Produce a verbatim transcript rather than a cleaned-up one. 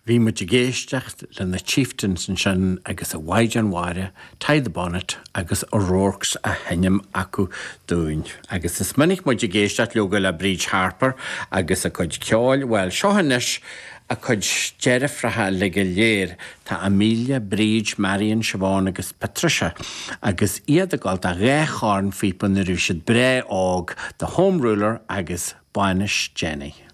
Bhí muid ag éisteacht le na Chieftains ansin agus a Mhaighdean Mhara, Tie the Bonnet agus O'Rourke's á sheinm acu dúinn. Agus is minic muid ag éisteacht leoga le Bríd Harper agus a cuid ceoil, well seo anois a cuid deirfiúracha le go léir tá Amelia, Bríd, Marion, Siobhan agus Patricia, agus iad ag gabháil do dhá chornphíopa nuair a bhí siad breá óg, The Home Ruler agus Bainis Jenny.